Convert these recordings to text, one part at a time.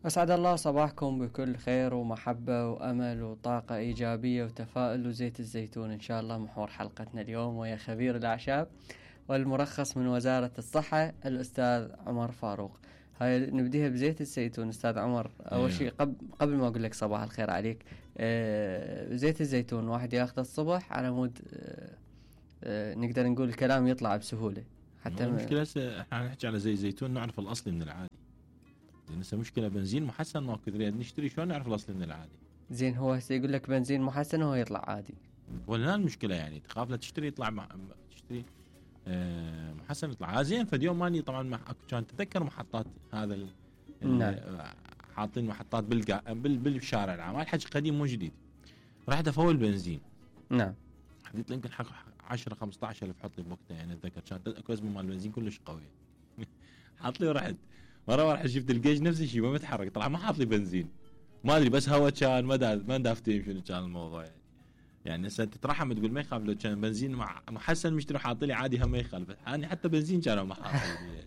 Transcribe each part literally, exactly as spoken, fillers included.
أسعد الله صباحكم بكل خير ومحبة وأمل وطاقة إيجابية وتفاؤل وزيت الزيتون إن شاء الله. محور حلقتنا اليوم ويا خبير الأعشاب والمرخص من وزارة الصحة الأستاذ عمر فاروق. هاي نبديها بزيت الزيتون. أستاذ عمر، أول شيء قبل قبل ما أقول لك صباح الخير عليك، آه زيت الزيتون واحد ياخذه الصبح على مود آه آه نقدر نقول الكلام يطلع بسهولة. حتى المشكلة احنا نحكي على زيت الزيتون نعرف الأصلي من العادي، لأن هسه مشكلة بنزين محسن ما كثير نشتري، شلون نعرف الأصلي من العادي؟ زين هو هسه يقول لك بنزين محسن وهو يطلع عادي، ولا المشكلة يعني تخاف لا تشتري يطلع مع... تشتري آه محسن يطلع زين. فاليوم ماني طبعا مع... كان تذكر محطات هذا ال... نعم. حاطين محطات بالقا... بال... بالشارع العام، الحكي قديم مو جديد. رحت افول بنزين، نعم، حديت يمكن حق عشرة خمسة عشر ألف حط لي بوقتها، يعني اتذكر كانت اكو ازمه مال البنزين كلش قويه. حاط لي ورحت مره واحد شفت الجيج نفس الشيء ما متحرك، طلع ما حاط لي بنزين، ما ادري بس هوا كان ما دا ما دافتين شنو كان الموضوع يعني. يعني هسه تترحم تقول ما يخاف لو كان بنزين مع محسن مشتري حاط لي عادي هم ما يخالف، يعني حتى بنزين كانوا ما حاط لي.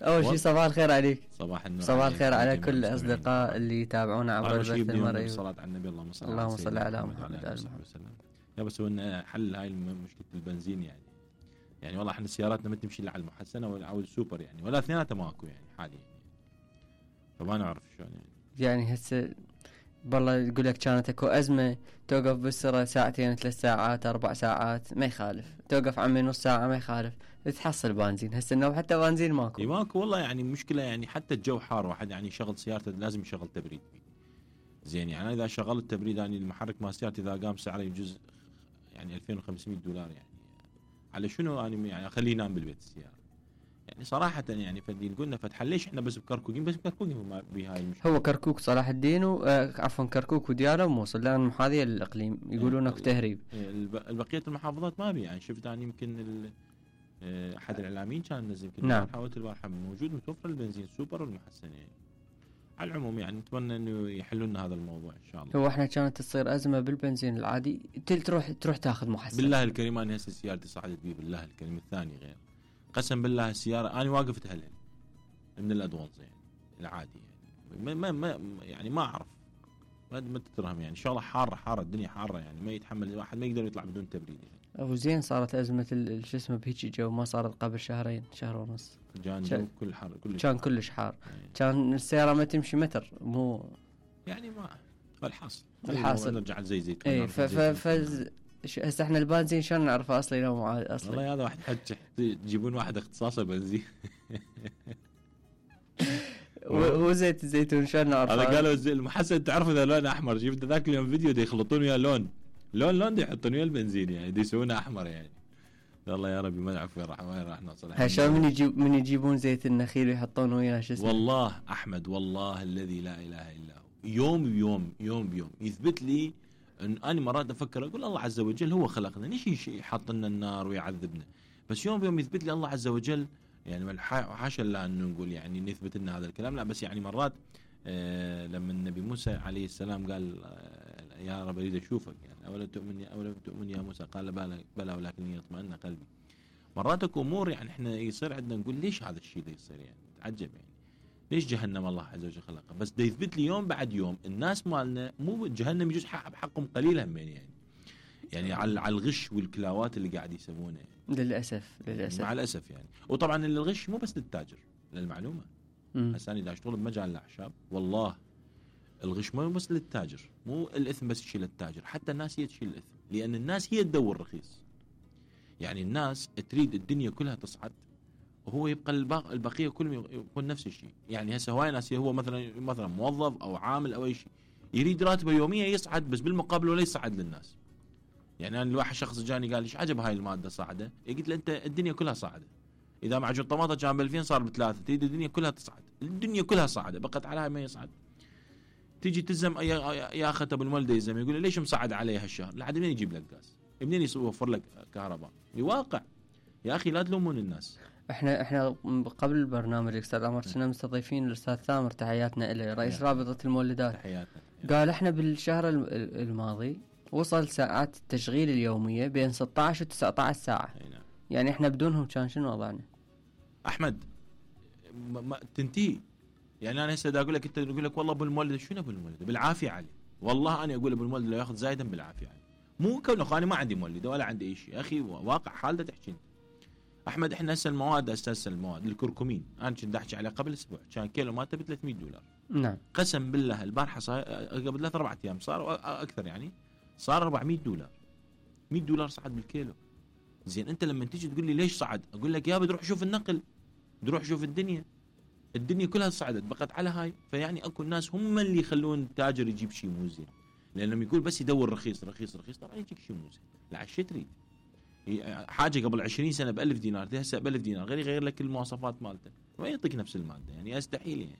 اول شيء صباح الخير عليك. صباح النور، صباح الخير على كل الاصدقاء اللي يتابعونا عبر البث المرئي. الصلاه على النبي، اللهم صل اللهم صل على محمد وعلى محمد. يا بس هو حل هاي مشكله البنزين يعني. يعني والله احنا سياراتنا ما تمشي الا على المحسنه او السوبر يعني، ولا اثنيناتها ماكو يعني حاليا يعني. فما نعرف شلون يعني. يعني هسه بالله يقول لك كانت اكو ازمه توقف بالسرعه ساعتين ثلاث ساعات اربع ساعات ما يخالف، توقف عمي نص ساعه ما يخالف، تحصل بنزين. هسه انه حتى بنزين ماكو. اي ماكو والله يعني مشكله يعني. حتى الجو حار واحد يعني يشغل سيارته لازم يشغل تبريد زين. يعني اذا شغلت تبريد يعني المحرك مال سيارتي اذا قام سعره يجوز يعني ألفين وخمسمية دولار يعني. على شنو يعني يعني اخليه ينام بالبيت السياره يعني صراحه يعني. فدين قلنا فتح ليش احنا بس بكركوكين بس بكركوكين بهاي المشكله. هو كركوك صلاح الدين و... آه عفوا كركوك ودياله وموصل لان هذه الاقليم يقولون اكو تهريب. البقيه المحافظات ما بي يعني. شفت انا يمكن احد الاعلاميين كان نزل يمكن نعم. حاولت البارحه موجود متوفر البنزين السوبر والمحسن يعني. على العموم يعني نتمنى انه يحلوا لنا هذا الموضوع ان شاء الله. هو احنا كانت تصير ازمه بالبنزين العادي تروح تروح تاخذ محسن. بالله الكريم انا هسه سيارتي صعدت بي بالله الكريم الثاني غير قسم بالله السياره انا واقف تهلل من الادوانس يعني العادي يعني. ما ما, ما يعني ما اعرف ما ما تترهم يعني. ان شاء الله حاره حاره الدنيا حاره يعني ما يتحمل الواحد ما يقدر يطلع بدون تبريد يعني. ابو زين صارت ازمه شو اسمه بهيجي جو ما صارت قبل شهرين شهر ونص. كان جو كل حر كل كان كلش حار يعني. كان السياره ما تمشي متر مو يعني ما الحاصل الحاصل نرجع زي زيت. اي ف ف ف هسه احنا البنزين شلون نعرفه اصلي لو مو اصلي. والله هذا واحد حج تجيبون واحد اختصاصه بنزين. وزيت الزيتون شلون نعرفه؟ هذا قالوا المحسن تعرف اذا لونه احمر. شفت ذاك اليوم فيديو دي يخلطون وياه لون لون لون دي يحطون وياه البنزين يعني دي يسوونه احمر يعني. والله يا ربي ما نعرف وين راح وين راح نوصل. هشام من يجيب من يجيبون زيت النخيل ويحطون وياه شو اسمه. والله احمد والله الذي لا اله الا هو يوم بيوم يوم بيوم يثبت لي ان انا مرات افكر اقول الله عز وجل هو خلقنا ليش يحط لنا النار ويعذبنا. بس يوم بيوم يثبت لي الله عز وجل يعني. حاشا لا انه نقول يعني نثبت لنا هذا الكلام لا. بس يعني مرات آه لما النبي موسى عليه السلام قال آه يا رب اريد اشوفك يعني اولا تؤمن يا اولا تؤمن يا موسى قال بلى بلى ولكن يطمئن قلبي. مرات اكو امور يعني احنا يصير عندنا نقول ليش هذا الشيء اللي يصير يعني تعجب يعني. ليش جهنم الله عز وجل خلقها. بس ده يثبت لي يوم بعد يوم الناس مالنا مو جهنم يجوز حق بحقهم قليل هم يعني. يعني على على الغش والكلاوات اللي قاعد يسوونه يعني. للاسف للاسف مع الاسف يعني. وطبعا الغش مو بس للتاجر للمعلومه. هسه انا اذا اشتغل بمجال الاعشاب والله الغش مو بس للتاجر. مو الاثم بس يشيل التاجر حتى الناس هي تشيل الاثم. لان الناس هي تدور رخيص يعني. الناس تريد الدنيا كلها تصعد وهو يبقى البقيه كلهم يكون نفس الشيء يعني. هسه هواي ناس هو مثلا مثلا موظف او عامل او اي شيء يريد راتبه يوميا يصعد بس بالمقابل ولا يصعد للناس يعني. انا الواحد شخص جاني قال ليش عجب هاي الماده صاعده. قلت له انت الدنيا كلها صاعده. اذا معجون طماطه كان ب ألفين صار بثلاثه. تريد الدنيا كلها تصعد. الدنيا كلها صاعده بقت عليها ما يصعد. تيجي تلزم يا اخي ابو المولد يلزم يقول ليش مصعد عليه هالشهر. لحد منين يجيب لك غاز منين يوفر لك كهرباء. بواقع يا اخي لا تلومون الناس. احنا احنا قبل البرنامج الاستاذ عمر كنا مستضيفين الاستاذ ثامر تحياتنا له رئيس رابطه المولدات. تحياتنا. قال احنا بالشهر الماضي وصل ساعات التشغيل اليوميه بين ستة عشر و تسعة عشر ساعه. نعم. يعني احنا بدونهم كان شنو وضعنا؟ احمد ما تنتهي يعني انا هسه دا اقول لك انت يقول لك والله ابو المولد شنو ابو المولد بالعافيه عليه. والله انا اقول ابو المولد لو ياخذ زايدا بالعافيه عليه. مو كونه انا ما عندي مولد ولا عندي اي شيء، اخي واقع حالته تحكي احمد. احنا هسه المواد اساسا المواد الكركمين انا كنت احكي عليه قبل اسبوع كان كيلو مالته ب ثلاثمية دولار. نعم قسم بالله البارحه صار قبل ثلاث اربع ايام صار اكثر يعني صار أربعمية دولار. مية دولار صعد بالكيلو. زين انت لما تيجي تقول لي ليش صعد؟ اقول لك يا بتروح شوف النقل، بتروح شوف الدنيا، الدنيا كلها صعدت بقت على هاي. فيعني اكو الناس هم اللي يخلون التاجر يجيب شيء مو زين، لانه يقول بس يدور رخيص رخيص رخيص طبعا يجيك شيء مو زين. لا شو تريد؟ حاجه قبل عشرين سنه ب ألف دينار هسه ب ألف دينار غير يغير لك المواصفات مالته ما يعطيك نفس الماده، يعني يستحيل. يعني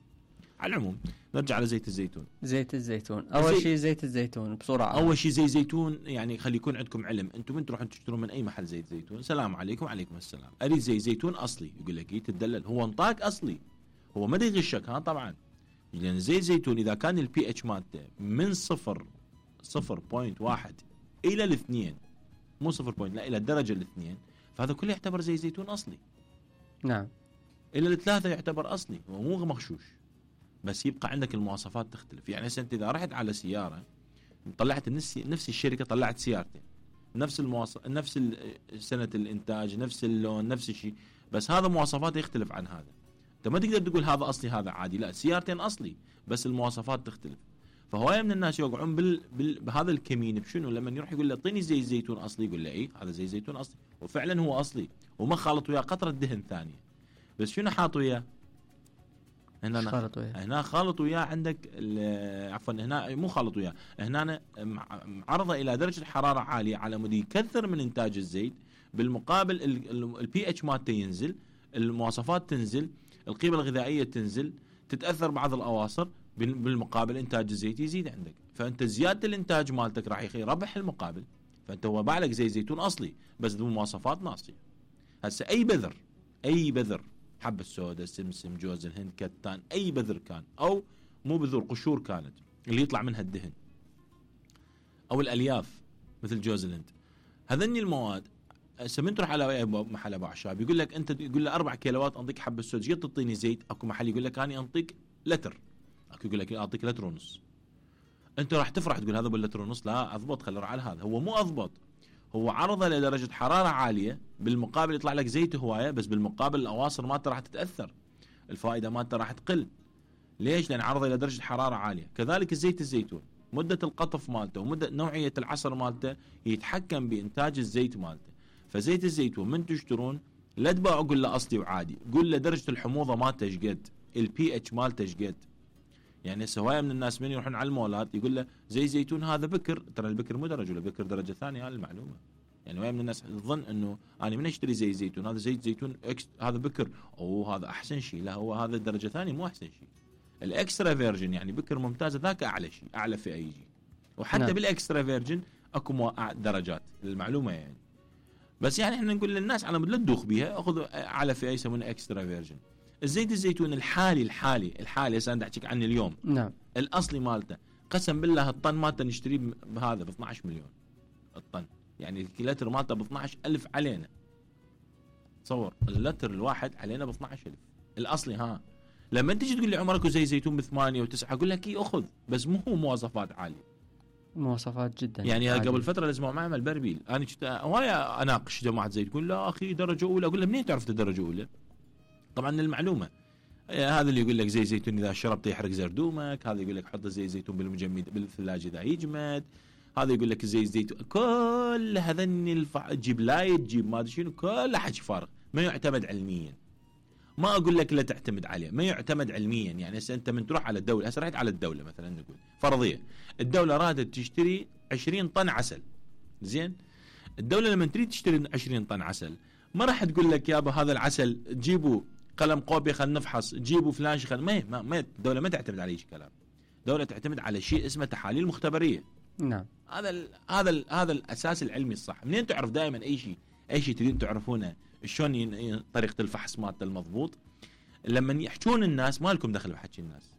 على العموم نرجع على زيت الزيتون. زيت الزيتون اول شيء زيت الزيتون بسرعه. اول شيء زيت زيتون يعني خلي يكون عندكم علم، انتم من تروحون تشترون من اي محل زيت زيتون السلام عليكم وعليكم السلام اريد زيت زيتون اصلي، يقول لك تدلل هو انطاك اصلي، هو ما يغشك ها طبعا. لان زيت زيتون اذا كان البي اتش مالته من صفر صفر بوينت واحد الى الاثنين، مو صفر بوينت لا الى الدرجه الاثنين، فهذا كله يعتبر زيت زيتون اصلي. نعم الى الثلاثه يعتبر اصلي ومو مغشوش، بس يبقى عندك المواصفات تختلف. يعني انت اذا رحت على سياره طلعت نفس نفس الشركه طلعت سيارتين نفس المواصف نفس سنه الانتاج نفس اللون نفس الشيء، بس هذا مواصفاته يختلف عن هذا. انت ما تقدر تقول هذا اصلي هذا عادي، لا سيارتين اصلي بس المواصفات تختلف. فهوايه من الناس يوقعون بال... بال... بهذا الكمين بشنو؟ لما يروح يقول له اعطيني زيت زيتون اصلي، يقول له اي هذا زيت زيتون اصلي، وفعلا هو اصلي وما خالط وياه قطره دهن ثانيه. بس شنو حاط وياه؟ هنا خالط وياه هنا خالط وياه عندك عفوا هنا مو خالط وياه، هنا معرضه الى درجه حراره عاليه على مود يكثر من انتاج الزيت، بالمقابل البي اتش مالته ينزل، المواصفات تنزل، القيمه الغذائيه تنزل، تتاثر بعض الاواصر، بالمقابل انتاج الزيت يزيد عندك. فانت زياده الانتاج مالتك راح يربح المقابل. فانت هو باع لك زيت زيتون اصلي بس ذو مواصفات ناقصه. هسه اي بذر اي بذر حبة سوداء سمسم جوز الهند كتان اي بذر كان او مو بذور قشور كانت اللي يطلع منها الدهن او الالياف مثل جوز الهند، هذني المواد هسه من تروح على محل ابو اعشاب يقول لك انت يقول له اربع كيلوات انطيك حبة سوداء جيت تعطيني زيت، اكو محل يقول لك انا انطيك لتر، اكو يقول لك اعطيك لتر ونص. انت راح تفرح تقول هذا باللتر ونص، لا اضبط خلي على هذا، هو مو اضبط، هو عرضه لدرجه حراره عاليه، بالمقابل يطلع لك زيت هوايه، بس بالمقابل الاواصر مالته راح تتاثر، الفائده مالته راح تقل. ليش؟ لان عرضه الى درجه حراره عاليه. كذلك الزيت الزيتون مده القطف مالته ومده نوعيه العصر مالته يتحكم بانتاج الزيت مالته. فزيت الزيتون من تشترون لا تباعوا قول له اصلي وعادي، قول له درجه الحموضه مالته ايش قد، البي اتش مالته ايش قد. يعني هوايه من الناس من يروحون على المولات يقول له زي زيتون هذا بكر، ترى البكر مو درجه، البكر درجه ثانيه، هذه المعلومه. يعني هوايه من الناس تظن انه انا من اشتري زي زيتون هذا زيت زيتون اكس هذا بكر او هذا احسن شيء، لا هو هذا درجه ثانيه مو احسن شيء. الاكسترا فيرجن يعني بكر ممتازه ذاك اعلى شيء، اعلى فئه يجي. وحتى نعم. بالاكسترا فيرجن اكو درجات للمعلومه يعني. بس يعني احنا نقول للناس على مود لا تدوخ بيها، اخذ اعلى فئه يسمونه اكسترا فيرجن. الزيت الزيتون الحالي الحالي الحالي هسه انا احكيك عنه اليوم نعم الاصلي مالته قسم بالله الطن مالته نشتريه بهذا ب اثناعش مليون الطن، يعني الكيلتر مالته ب اثناعش ألف علينا. تصور اللتر الواحد علينا ب اثناعش ألف الاصلي. ها لما تيجي تقول لي عمرك زي زيتون بثمانية وتسعة اقول لك اي اخذ، بس مو مواصفات عاليه، مواصفات جدا يعني عالية. قبل فتره لازم معمل بربيل انا كنت هوايه اناقش جماعه زيت تقول لا اخي درجه اولى، اقول له منين تعرف درجه اولى؟ طبعا المعلومه هذا اللي يقول لك زي زيتون اذا شربته يحرق زردومك، هذا يقول لك حط زي زيتون بالمجمد بالثلاجه اذا يجمد، هذا يقول لك زي زيتون، كل هذني الفع... تجيب لايت تجيب ما ادري شنو، كله حكي فارغ ما يعتمد علميا. ما اقول لك لا تعتمد عليه، ما يعتمد علميا. يعني هسه انت من تروح على الدوله، هسه رحت على الدوله مثلا نقول فرضيه الدوله رادت تشتري عشرين طن عسل، زين الدوله لما تريد تشتري عشرين طن عسل ما راح تقول لك يابا هذا العسل جيبوا قلم قوبي خلينا نفحص، جيبوا فلان شيء ما ما, ما الدوله ما تعتمد على شيء كلام، الدوله تعتمد على شيء اسمه تحاليل مختبريه. نعم هذا ال هذا ال هذا الاساس العلمي الصح. منين تعرف دائما اي شيء اي شيء تريدون تعرفونه شلون طريقه الفحص مالته المضبوط؟ لما يحجون الناس ما لكم دخل بحكي الناس،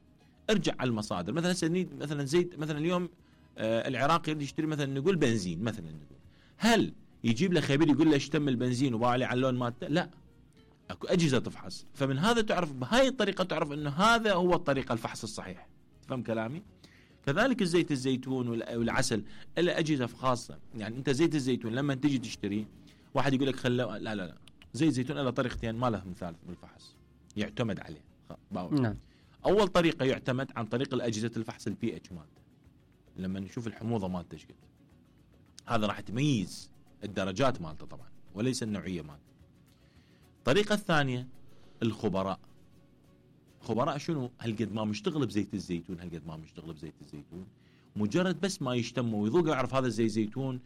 ارجع على المصادر. مثلا مثلا زيت مثلا اليوم آه العراق يريد يشتري مثلا نقول بنزين مثلا نقول، هل يجيب له خبير يقول له ايش تم البنزين وباع عليه على اللون مالته؟ لا، اكو اجهزه تفحص. فمن هذا تعرف بهاي الطريقه تعرف انه هذا هو الطريقه الفحص الصحيح. تفهم كلامي؟ كذلك الزيت الزيتون والعسل له اجهزه خاصه. يعني انت زيت الزيتون لما تجي تشتري واحد يقول لك خله لا لا لا زيت الزيتون له طريقتين ما له مثال بالفحص يعتمد عليه. نعم. اول طريقه يعتمد عن طريق الاجهزه الفحص البي اتش مالته، لما نشوف الحموضه مالته ايش قد، هذا راح تميز الدرجات مالته طبعا وليس النوعيه مالته. الطريقه الثانيه الخبراء. خبراء شنو؟ هالقد ما مشتغل بزيت الزيتون، هالقد ما مشتغل بزيت الزيتون، مجرد بس ما يشتمه ويذوقه يعرف هذا الزيت زيتون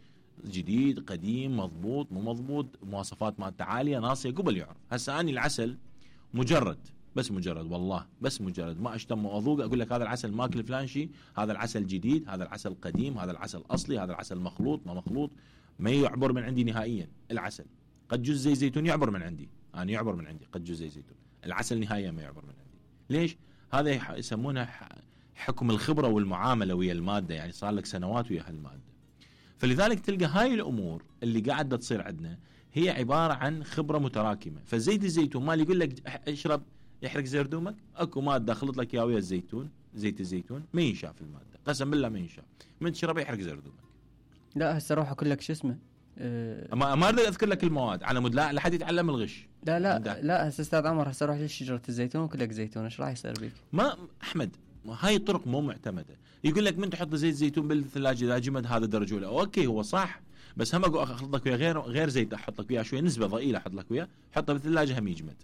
جديد قديم مضبوط مو مضبوط، مواصفات مالته عاليه ناصيه، قبل يعرف. هسه اني العسل مجرد بس مجرد والله بس مجرد ما اشتم واذوق اقول لك هذا العسل ماكل فلان شيء، هذا العسل جديد، هذا العسل قديم، هذا العسل اصلي، هذا العسل مخلوط ما مخلوط، ما يعبر من عندي نهائيا. العسل قد جزء زي زيتون يعبر من عندي، انا يعني يعبر من عندي قد جزء زي زيتون، العسل نهائيا ما يعبر من عندي. ليش؟ هذا يسمونه حكم الخبره والمعامله ويا الماده، يعني صار لك سنوات ويا هالماده. فلذلك تلقى هاي الامور اللي قاعده تصير عندنا هي عباره عن خبره متراكمه. فزيت الزيتون مال يقول لك اشرب يحرق زردومك، اكو ماده خلط لك اياه ويا الزيتون، زيت الزيتون ما ينشاف الماده، قسم بالله ما ينشاف، من تشربه يحرق زردومك. لا هسه اروح اقول لك شو اسمه أه ما ما اريد اذكر لك المواد على مود لا لحد يتعلم الغش. لا لا عندها. لا هسه استاذ عمر هسه اروح لشجره الزيتون واقول لك زيتون ايش راح يصير بيك؟ ما احمد هاي الطرق مو معتمده. يقول لك من تحط زيت زيتون بالثلاجه اذا جمد هذا درجه اولى، اوكي هو صح، بس هم اقول اخلط لك ويا غير غير زيت احط لك وياه شويه نسبه ضئيله احط لك وياه حطه بالثلاجه هم يجمد.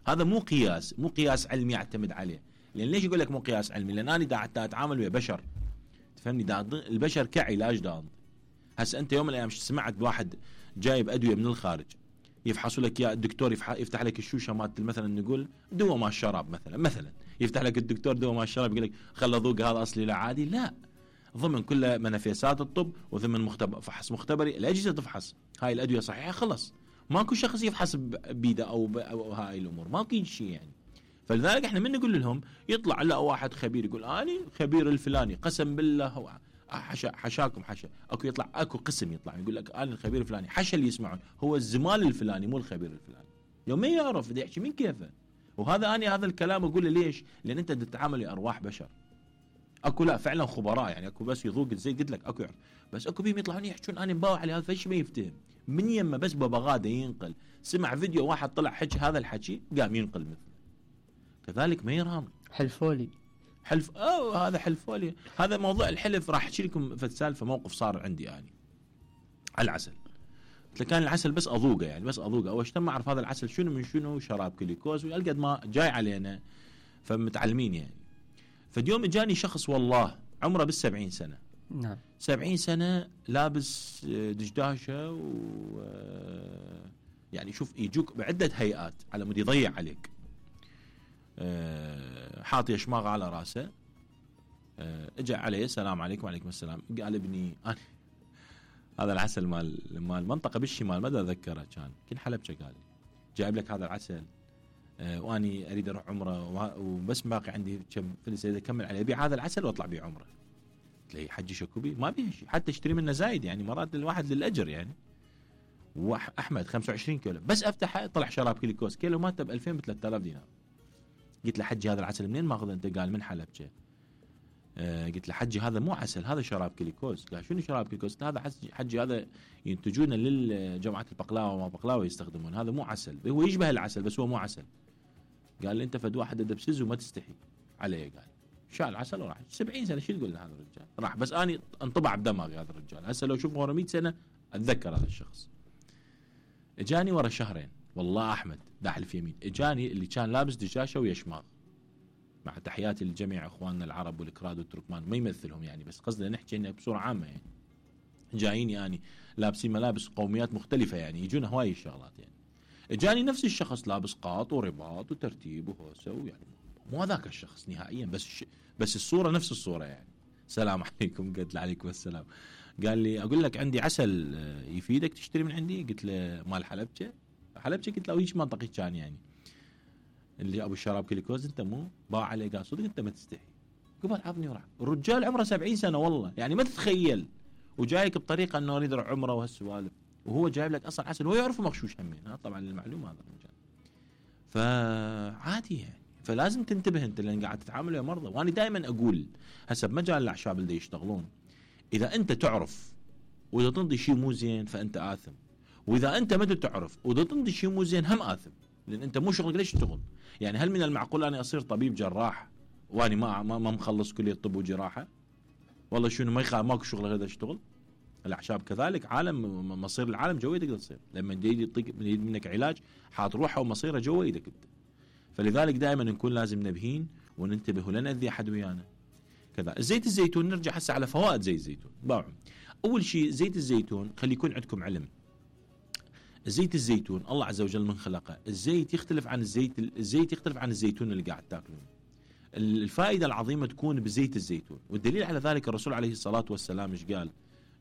هذا مو قياس، مو قياس علمي اعتمد عليه. لان ليش يقول لك مو قياس علمي؟ لان انا دا اتعامل ويا بشر، تفهمني؟ دا البشر كعلاج دا. هسه انت يوم من الايام سمعت بواحد جايب ادويه من الخارج يفحصوا لك يا الدكتور يفتح لك الشوشه مالت مثلا نقول دواء مال الشراب مثلا مثلا يفتح لك الدكتور دواء مال الشراب يقول لك خل ذوق هذا اصلي لا عادي، لا، ضمن كل منافسات الطب وضمن مختبر فحص مختبري الاجهزه تفحص هاي الادويه صحيحه خلص، ماكو شخص يفحص بيده او, أو هاي الامور ماكو شيء يعني. فلذلك احنا من نقول لهم يطلع لا واحد خبير يقول اني خبير الفلاني قسم بالله هو حشا حشاكم حشا، اكو يطلع اكو قسم يطلع يقول لك انا الخبير الفلاني، حشا اللي يسمعون هو الزمال الفلاني مو الخبير الفلاني. يوم ما يعرف بده يحكي من كيفه. وهذا اني هذا الكلام اقوله ليش؟ لان انت تتعامل مع ارواح بشر. اكو لا فعلا خبراء يعني اكو بس يذوق زي قلت لك اكو يعرف، بس اكو بيهم يطلعون يحكون انا مباوع على هذا فيش ما يفتهم من يمه بس ببغاده ينقل، سمع فيديو واحد طلع حكي هذا الحكي قام ينقل مثله. كذلك ما يرام حلفولي حلف اه هذا حلفولي. هذا موضوع الحلف راح احكي لكم في سالفه موقف صار عندي يعني على العسل. كان العسل بس اذوقه يعني بس اذوقه اول شيء ما اعرف هذا العسل شنو من شنو، شراب كليكوز والقد ما جاي علينا فمتعلمين يعني. فاليوم اجاني شخص والله عمره بالسبعين سنه، نعم سبعين سنه لابس دشداشه و يعني شوف يجوك بعده هيئات على مود يضيع عليك، حاط يشماغ على راسه، اجى عليه السلام عليكم وعليكم السلام، قال ابني أنا هذا العسل مال مال منطقه بالشمال ما اتذكرها كان كل حلبشه، قال جايب لك هذا العسل واني اريد اروح عمره وبس باقي عندي كم فلس اكمل عليه ابيع هذا العسل واطلع بيه عمره. قلت له حجي شكوبي ما بيه شيء حتى اشتري منه زايد يعني مرات الواحد للاجر يعني. واحمد خمسة وعشرين كيلو بس افتحه طلع شراب كليكوز كيلو ماته ب ألفين ب ثلاثة آلاف دينار. قلت له حجي هذا العسل منين ماخذه انت؟ قال من حلبشه. آه قلت له حجي هذا مو عسل هذا شراب كليكوز. قال شنو شراب كليكوز؟ هذا حجي هذا ينتجونه للجماعه البقلاوه وما بقلاوه يستخدمون، هذا مو عسل هو يشبه العسل بس هو مو عسل. قال لي انت فد واحد دبسز وما تستحي عليه. قال شال عسل وراح سبعين سنه شو تقول لهذا الرجال راح، بس اني انطبع بدماغي هذا الرجال. هسه لو شوف ورا مئة سنه اتذكر هذا الشخص. اجاني ورا شهرين والله احمد داحلف يمين، اجاني اللي كان لابس دشاشه ويشماغ، مع تحياتي لجميع اخواننا العرب والكراد والتركمان ما يمثلهم يعني بس قصدي نحكي انه بصوره عامه يعني جايين يعني لابسين ملابس قوميات مختلفه يعني يجونا هواي الشغلات يعني. اجاني نفس الشخص لابس قاط ورباط وترتيب وهوسه ويعني مو هذاك الشخص نهائيا بس ش... بس الصوره نفس الصوره يعني. السلام عليكم. قلت له عليكم السلام. قال لي اقول لك عندي عسل يفيدك تشتري من عندي. قلت له مال حلبشه حلبشه. قلت له ايش منطقي كان يعني اللي ابو الشراب كليكوز انت مو باع عليه. قال صدق انت ما تستحي. قبل عطني وراح الرجال عمره سبعين سنه والله يعني ما تتخيل، وجايك بطريقه انه اريد اروح عمره وهالسوالف، وهو جايب لك اصلا عسل وهو يعرف مغشوش همين. ها طبعا المعلومه هذا الرجال. فعادي يعني. فلازم تنتبه انت لان قاعد تتعامل ويا مرضى. وانا دائما اقول هسه بمجال الاعشاب اللي يشتغلون، اذا انت تعرف واذا تنطي شيء مو زين فانت آثم، واذا انت ما تعرف واذا تنطي شيء مو زين هم آثم، لان انت مو شغلك ليش تشتغل؟ يعني هل من المعقول اني اصير طبيب جراح واني ما ما, ما مخلص كليه طب وجراحه؟ والله شنو ما يخاف ماكو شغل هذا اشتغل؟ الاعشاب كذلك عالم مصير العالم جوا يدك تصير، لما يجي يطيق منك علاج حاط روحه ومصيره جوا ايدك انت. فلذلك دائما نكون لازم نبهين وننتبه ولا نأذي احد ويانا. كذا زيت الزيتون، نرجع هسه على فوائد زيت الزيتون. باعوا اول شيء زيت الزيتون، خلي يكون عندكم علم. زيت الزيتون الله عز وجل من خلقه، الزيت يختلف عن الزيت الزيت يختلف عن الزيتون اللي قاعد تاكلونه. الفائده العظيمه تكون بزيت الزيتون، والدليل على ذلك الرسول عليه الصلاه والسلام ايش قال؟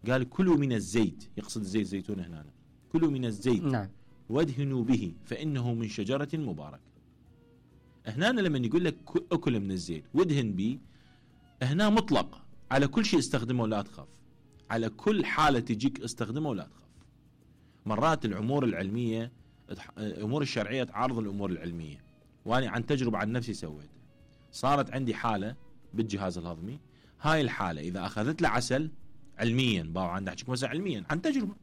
قال كلوا من الزيت، يقصد زيت الزيتون هنا، كلوا من الزيت نعم وادهنوا به فانه من شجره مباركه. هنا لما يقول لك اكل من الزيت وادهن به، هنا مطلق على كل شيء استخدمه ولا تخاف، على كل حاله تجيك استخدمه ولا تخاف. مرات الامور العلميه الامور الشرعيه تعارض الامور العلميه، وانا عن تجربه عن نفسي سويتها. صارت عندي حاله بالجهاز الهضمي، هاي الحاله اذا اخذت له عسل علميا، باو عندي احكي مثلا علميا عن تجربه،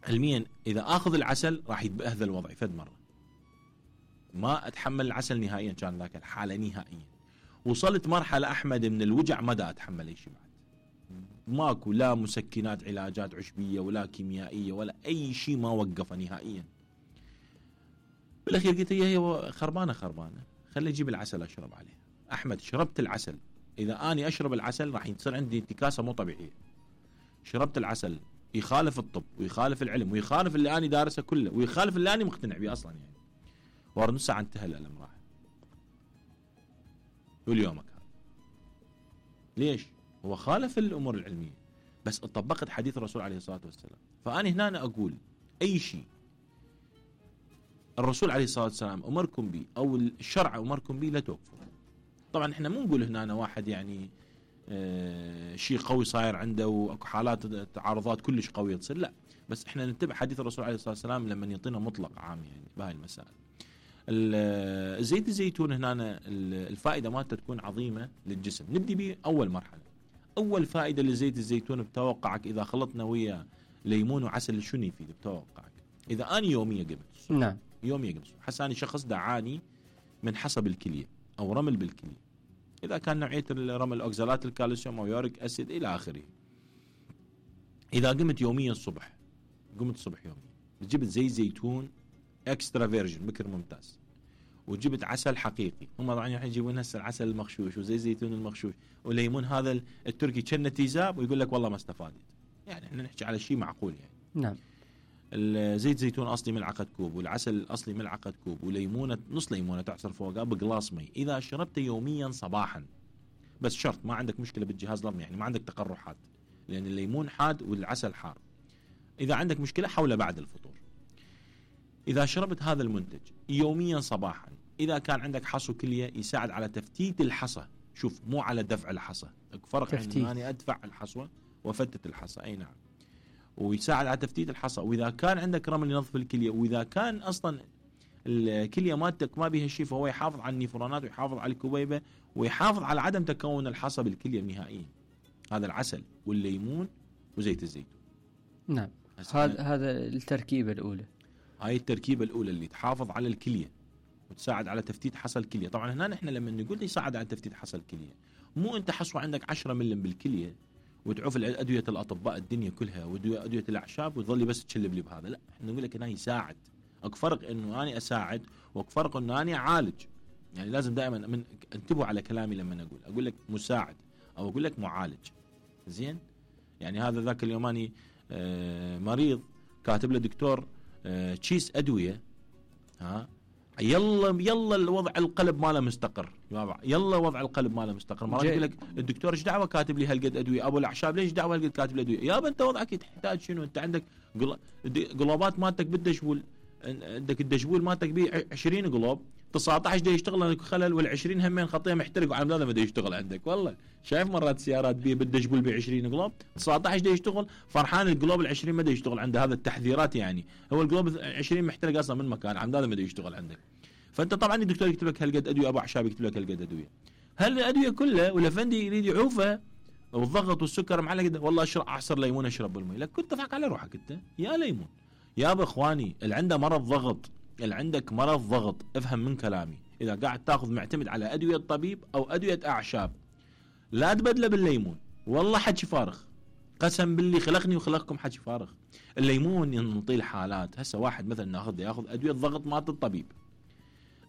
علميا اذا اخذ العسل راح يتبهذل وضعي فد مره، ما اتحمل العسل نهائيا. كان ذاك الحاله نهائيا وصلت مرحله احمد من الوجع ما دا اتحمل اي شيء بعد، ماكو لا مسكنات علاجات عشبيه ولا كيميائيه ولا اي شيء، ما وقفه نهائيا. بالاخير قلت هي خربانه خربانه، خلي اجيب العسل اشرب عليه. احمد شربت العسل، اذا اني اشرب العسل راح يصير عندي انتكاسه مو طبيعيه. شربت العسل يخالف الطب ويخالف العلم ويخالف اللي اني دارسه كله ويخالف اللي اني مقتنع به اصلا يعني. ورا نص ساعه انتهى الالم راح. واليومك هذا ليش؟ هو خالف الامور العلميه بس طبقت حديث الرسول عليه الصلاه والسلام. فاني هنا أنا اقول اي شيء الرسول عليه الصلاه والسلام امركم به او الشرع امركم به لا توقفوا. طبعا احنا مو نقول هنا أنا واحد يعني آه شيء قوي صاير عنده واكو حالات تعارضات كلش قويه تصير، لا، بس احنا نتبع حديث الرسول عليه الصلاه والسلام لما يعطينا مطلق عام يعني بهاي المسائل. زيت الزيتون هنا الفائده مالته تكون عظيمه للجسم. نبدي به اول مرحله. اول فائده لزيت الزيتون بتوقعك اذا خلطنا وياه ليمون وعسل شنو يفيد بتوقعك؟ اذا اني يوميا قبل نعم يوميا قبل حس اني شخص دعاني من حصى بالكليه او رمل بالكليه، اذا كان نوعيه الرمل اوكزالات الكالسيوم او يوريك اسيد الى اخره. اذا قمت يوميا الصبح قمت الصبح يوميا جبت زيت زيتون اكسترا فيرجن بكر ممتاز، وجبت عسل حقيقي. هم طبعا يجيبون هسه العسل المغشوش وزي زيتون المغشوش وليمون هذا التركي كنه تيزاب ويقول لك والله ما استفادت. يعني احنا نحكي على شيء معقول يعني. نعم. الزيت زيتون اصلي ملعقه كوب، والعسل الاصلي ملعقه كوب، وليمونه نص ليمونه تعصر فوقها بقلاص مي. اذا شربته يوميا صباحا، بس شرط ما عندك مشكله بالجهاز الهضمي، يعني ما عندك تقرحات، لان الليمون حاد والعسل حار. اذا عندك مشكله حوله بعد الفطور. إذا شربت هذا المنتج يوميا صباحا، إذا كان عندك حصو كلية يساعد على تفتيت الحصى. شوف مو على دفع الحصى، فرق بين أني أدفع الحصوة وفتت الحصى. أي نعم. ويساعد على تفتيت الحصى. وإذا كان عندك رمل ينظف الكلية، وإذا كان أصلا الكلية مالتك ما بها شيء، فهو يحافظ على النيفرونات ويحافظ على الكبيبة ويحافظ على عدم تكون الحصى بالكلية نهائيا. هذا العسل والليمون وزيت الزيتون. نعم. هذا هذا التركيبة الأولى. هاي التركيبة الأولى اللي تحافظ على الكلية وتساعد على تفتيت حصى الكلية. طبعا هنا نحن لما نقول يساعد على تفتيت حصى الكلية، مو أنت حصوة عندك عشرة ملم بالكلية وتعوف أدوية الأطباء الدنيا كلها وأدوية الأعشاب وتظلي بس تشلب لي بهذا. لا، احنا نقول لك هنا يساعد. اكو فرق إنه أنا أساعد واكو فرق إنه أنا أعالج. يعني لازم دائما من انتبهوا على كلامي لما أقول أقول لك مساعد أو أقول لك معالج. زين؟ يعني هذا ذاك اليوم أنا آه مريض كاتب له دكتور آه تشيس أدوية، ها يلا يلا الوضع القلب ماله مستقر، يلا وضع القلب ماله مستقر. مرات يقول لك الدكتور ايش دعوه كاتب لي هالقد ادويه؟ ابو الاعشاب ليش دعوه هالقد كاتب لي ادويه؟ يابا انت وضعك تحتاج شنو؟ انت عندك قلوبات مالتك بالدشبول، عندك الدشبول مالتك بيه عشرين قلوب، تسعة عشر دا يشتغل عندك خلل، والعشرين همين خطيه محترق وعلى هذا ما دا يشتغل عندك. والله شايف مرات سيارات بيه بده يقول ب عشرين قلوب، تسعة عشر دا يشتغل فرحان، القلوب العشرين ما دا يشتغل عنده. هذا التحذيرات يعني، هو القلوب عشرين محترق اصلا من مكان، عند هذا ما دا يشتغل عندك. فانت طبعا الدكتور يكتب لك هالقد ادويه، ابو اعشاب يكتب لك هالقد ادويه، هل الادويه كلها والافندي يريد يعوفه والضغط والسكر معلقه قد، والله اشرب اعصر ليمون اشرب بالمي. لك كنت تضحك على روحك انت يا ليمون يا ابو اخواني. اللي عنده مرض ضغط، اللي عندك مرض ضغط افهم من كلامي، اذا قاعد تاخذ معتمد على ادويه طبيب او ادويه اعشاب لا تبدله بالليمون، والله حكي فارغ، قسم باللي خلقني وخلقكم حكي فارغ. الليمون ينطي الحالات. هسه واحد مثلا ناخذ ياخذ ادويه ضغط مالت الطبيب،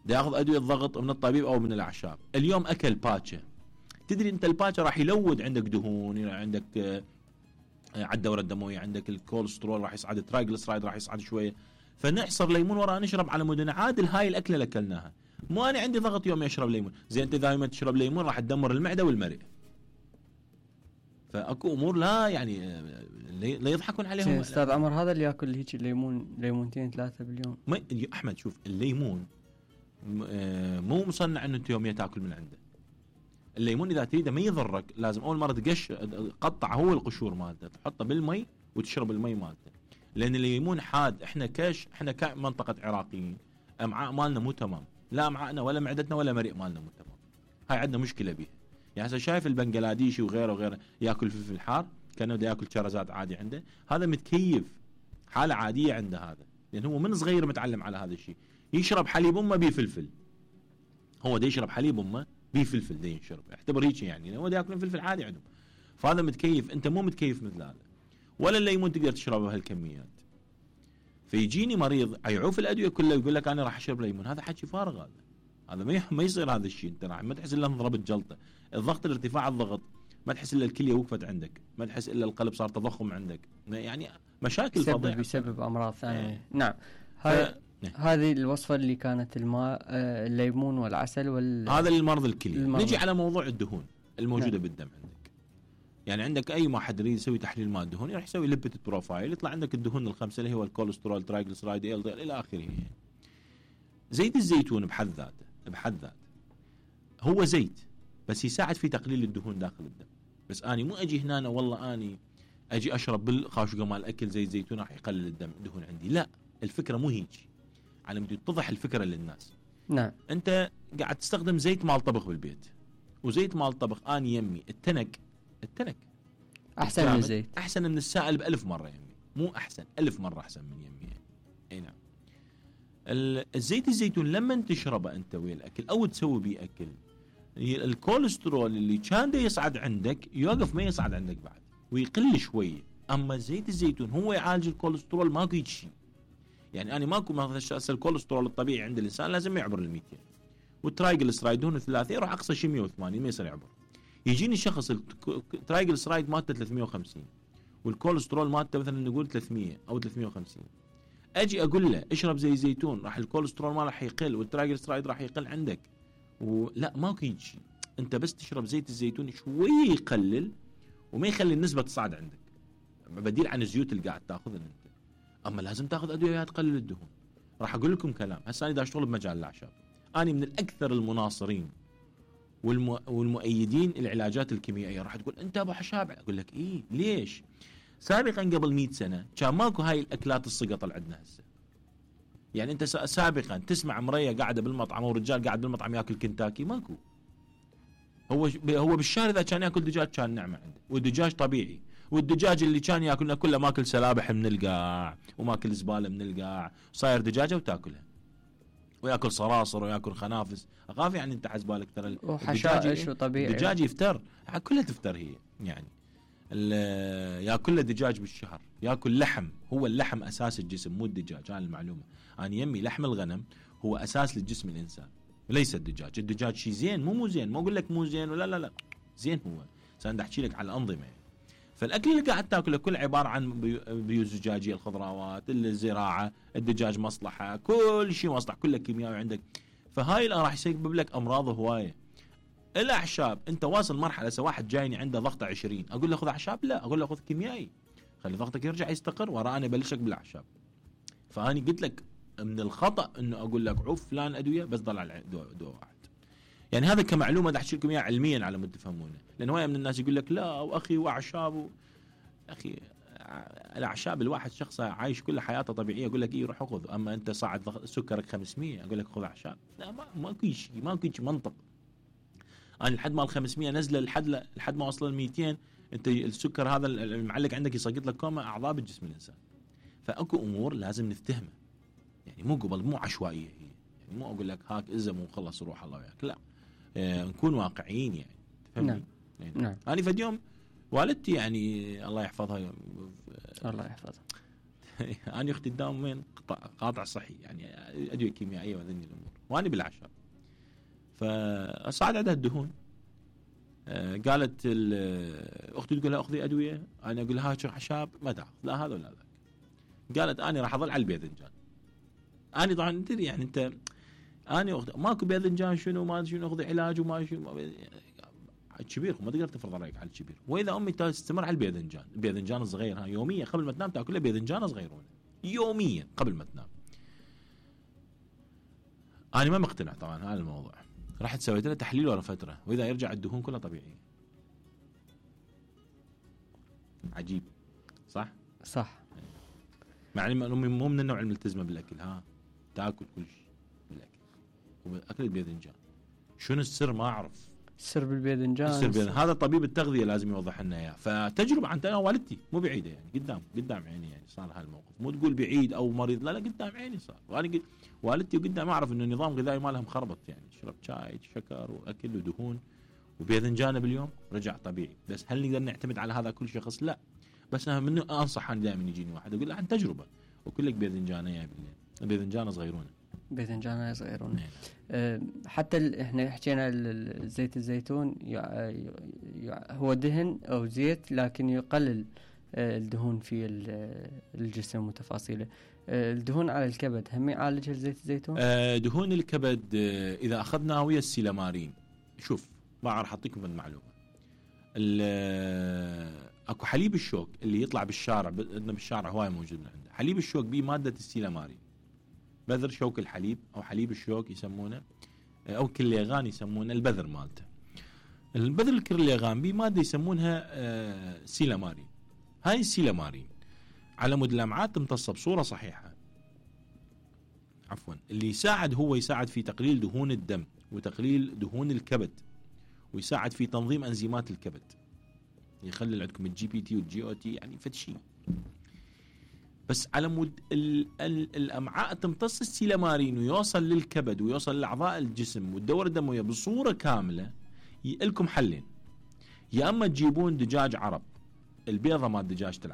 دا ياخذ ادويه ضغط من الطبيب او من الاعشاب، اليوم اكل باتشه، تدري انت الباتشه راح يلود عندك دهون، عندك على الدوره الدمويه، عندك الكوليسترول راح يصعد، الترايجلسرايد راح يصعد شويه، فنعصر ليمون وراه نشرب على مود عادل. هاي الاكله اللي اكلناها، مو انا عندي ضغط يوم اشرب ليمون. زين انت دائما تشرب ليمون راح تدمر المعده والمرئ. فاكو امور لا يعني لا يضحكون عليهم. استاذ عمر هذا اللي ياكل هيك الليمون ليمونتين ثلاثه باليوم، ما احمد شوف الليمون مو مصنع انه انت يوميا تاكل من عنده. الليمون اذا تريده ما يضرك لازم اول مره تقش قطع هو القشور مالته، تحطه بالمي وتشرب المي مالته، لان الليمون حاد. احنا كاش احنا كمنطقه عراقيين امعاء مالنا مو تمام، لا امعائنا ولا معدتنا ولا مريء مالنا مو تمام. هاي عندنا مشكله بيها. يعني هسه شايف البنغلاديشي وغيره وغيره ياكل فلفل حار كانه بده ياكل شرزات عادي عنده، هذا متكيف حاله عاديه عنده هذا، لان هو من صغير متعلم على هذا الشيء. يشرب حليب امه بيه فلفل، هو دا يشرب حليب امه بيه فلفل دا يشرب، اعتبر هيك يعني هو دا ياكلون فلفل عادي عندهم. فهذا متكيف، انت مو متكيف مثل هذا، ولا الليمون تقدر تشربه بهالكميات. فيجيني مريض يعوف الادويه كلها ويقول لك انا راح اشرب ليمون، هذا حكي فارغ. هذا هذا ما ما يصير هذا الشيء. انت راح ما تحس الا انضربت جلطه، الضغط الارتفاع الضغط ما تحس الا الكليه وقفت عندك، ما تحس الا القلب صار تضخم عندك، يعني مشاكل فظيعه بسبب امراض ثانيه. اه. نعم. هاي هذه الوصفه اللي كانت الماء الليمون والعسل وال هذا للمرض الكليه. نجي على موضوع الدهون الموجوده نعم. بالدم عندك، يعني عندك اي ما حد يريد يسوي تحليل ماء الدهون راح يسوي ليبيد بروفايل، يطلع عندك الدهون الخمسه اللي هو الكوليسترول، ترايجلسرايد، ال دي ال الى اخره. زيت الزيتون بحد ذاته بحد ذاته هو زيت، بس يساعد في تقليل الدهون داخل الدم. بس اني مو اجي هنا والله اني اجي اشرب بالخاشقه مال الاكل زيت زيتون راح يقلل الدم الدهون عندي، لا، الفكره مو هيك. على مود تتضح الفكره للناس. نعم. انت قاعد تستخدم زيت مال طبخ بالبيت، وزيت مال طبخ اني يمي التنك التنك احسن من الزيت، احسن من السائل بألف مره يمي، مو احسن، ألف مره احسن من يمي. اي نعم. الزيت الزيتون لما تشربه انت ويا الاكل او تسوي بيه اكل، الكوليسترول اللي كان دا يصعد عندك يوقف، ما يصعد عندك بعد ويقل شويه. اما زيت الزيتون هو يعالج الكوليسترول، ماكو هيك شيء. يعني انا ماكو مثلا الكوليسترول الطبيعي عند الانسان لازم يعبر ال مئتين، والترايجلسرايد دهون الثلاثيه يروح اقصى شيء مئة وثمانين ما يصير يعبر. يجيني شخص الترايجلسرايد مالته ثلاثمئة وخمسين والكوليسترول مالته مثلا نقول ثلاثمئة او ثلاثمئة وخمسين، اجي اقول له اشرب زي زيتون راح الكوليسترول ما راح يقل والترايجلسرايد راح يقل عندك، ولا ماكو هيك شيء. انت بس تشرب زيت الزيتون شوي يقلل وما يخلي النسبه تصعد عندك، بديل عن الزيوت اللي قاعد تاخذها انت. اما لازم تاخذ ادويه تقلل الدهون. راح اقول لكم كلام، هسه انا دا اشتغل بمجال الاعشاب، انا من الاكثر المناصرين والم... والمؤيدين العلاجات الكيميائيه. راح تقول انت ابو حشاب، اقول لك ايه ليش؟ سابقا قبل مئة سنه كان ماكو هاي الاكلات السقط اللي عندنا هسه. يعني انت سابقا تسمع مريه قاعده بالمطعم او رجال قاعد بالمطعم ياكل كنتاكي؟ ماكو. هو هو بالشارع اذا كان ياكل دجاج كان نعمه عنده، والدجاج طبيعي، والدجاج اللي كان ياكلنا كله ماكل سلابح من القاع وماكل زباله من القاع، صاير دجاجه وتاكلها، وياكل صراصر وياكل خنافس. اخاف يعني انت حسبالك ترى وحشائش وطبيعي، الدجاج يفتر، كلها تفتر هي. يعني ياكل له دجاج بالشهر، ياكل لحم، هو اللحم اساس الجسم مو الدجاج، هاي المعلومه. انا يمي لحم الغنم هو اساس للجسم الانسان وليس الدجاج. الدجاج شيء زين مو مو زين، ما اقول لك مو زين ولا لا لا زين، هو سأنا احكي لك على الانظمه. فالاكل اللي قاعد تاكله كله عباره عن بيوت زجاجيه، الخضروات، الزراعه، الدجاج مصلحه، كل شيء مصلح، كله كيميائي عندك. فهاي راح يسبب لك امراض هوايه. الاعشاب انت واصل مرحله، سواء واحد جايني عنده ضغطه عشرين اقول له خذ اعشاب؟ لا، اقول له خذ كيميائي، خلي ضغطك يرجع يستقر، ورا انا ابلشك بالاعشاب. فاني قلت لك من الخطا انه اقول لك عف فلان ادويه بس ضل على دواء دواء واحد. يعني هذا كمعلومه احكي لكم اياها علميا على مود تفهمونه، لان هوايه من الناس يقول لك لا واخي واعشاب و... اخي الاعشاب الواحد شخص عايش كل حياته طبيعيه يقول لك ايه روح خذ، اما انت صاعد سكرك خمسمية اقول لك خذ اعشاب، لا ما ماكو شيء ماكو شيء منطق. انا لحد ما ال خمسمية نزله لحد لحد ما وصل ل مئتين انت السكر هذا المعلق عندك يسقط لك كوما اعضاء بالجسم الانسان. فاكو امور لازم نفتهمها، يعني مو قبل مو عشوائيه هي، يعني مو اقول لك هاك ازم وخلص روح الله وياك، لا آه نكون واقعيين يعني تفهمني؟ نعم. يعني نعم. انا فد يوم والدتي يعني الله يحفظها الله يحفظها انا اختي تداوم وين قاطع صحي يعني ادويه كيميائيه وذني الامور، وانا بالاعشاب. فصعد عندها الدهون، آه قالت اختي تقول لها اخذي ادويه، انا اقول لها اعشاب ما تاخذ لا هذا ولا ذاك. قالت انا راح اظل على الباذنجان. انا طبعا تدري يعني انت انا أخذ ماكو باذنجان شنو ما شنو اخذ علاج وما شنو الكبير ما تقدر تفرض رايك على الكبير. واذا امي تستمر على الباذنجان، الباذنجان الصغير ها يوميا قبل ما تنام تاكل باذنجان صغيرون يوميا قبل ما تنام. انا ما مقتنع طبعا هذا الموضوع، رحت سويت له تحليل ورا فتره واذا يرجع الدهون كلها طبيعيه. عجيب صح؟ صح. مع ان امي مو من النوع الملتزمه بالاكل، ها تاكل كل شيء بالاكل واكل الباذنجان. شنو السر ما اعرف. السر بالباذنجان السر بالباذنجان هذا طبيب التغذيه لازم يوضح لنا اياه. فتجربه عن انا والدتي مو بعيده يعني قدام قدام عيني يعني صار هالموقف، مو تقول بعيد او مريض لا لا قدام عيني صار. وانا قد والدتي قدام اعرف انه النظام الغذائي مالها مخربط يعني شرب شاي شكر واكل ودهون وباذنجان باليوم رجع طبيعي. بس هل نقدر نعتمد على هذا كل شخص؟ لا. بس انا منه انصح انا دائما يجيني واحد اقول له عن تجربه وكل لك باذنجان يا بالليل، باذنجان صغيرون باذنجان صغيرون. أه حتى احنا حكينا زيت الزيتون هو دهن او زيت لكن يقلل الدهون في الجسم وتفاصيله. الدهون على الكبد هم يعالجها زيت الزيتون؟ أه دهون الكبد اذا اخذنا ويا السيلامارين. شوف ما راح اعطيكم المعلومه. اكو حليب الشوك اللي يطلع بالشارع، عندنا بالشارع هواي موجود من عنده حليب الشوك به ماده السيلامارين، بذر شوك الحليب او حليب الشوك يسمونه، او كليغان يسمونه البذر مالته. البذر الكليغان به ماده يسمونها آه سيلامارين. هاي السيلامارين على مود الامعاء تمتص بصوره صحيحه عفوا اللي يساعد هو يساعد في تقليل دهون الدم وتقليل دهون الكبد ويساعد في تنظيم انزيمات الكبد، يخلي عندكم الجي بي تي والجي او تي يعني فد شيء. بس على مود الامعاء تمتص السيلامارين ويوصل للكبد ويوصل لاعضاء الجسم والدوره الدمويه بصوره كامله، لكم حلين. يا اما تجيبون دجاج عرب، البيضه مال دجاجه العرب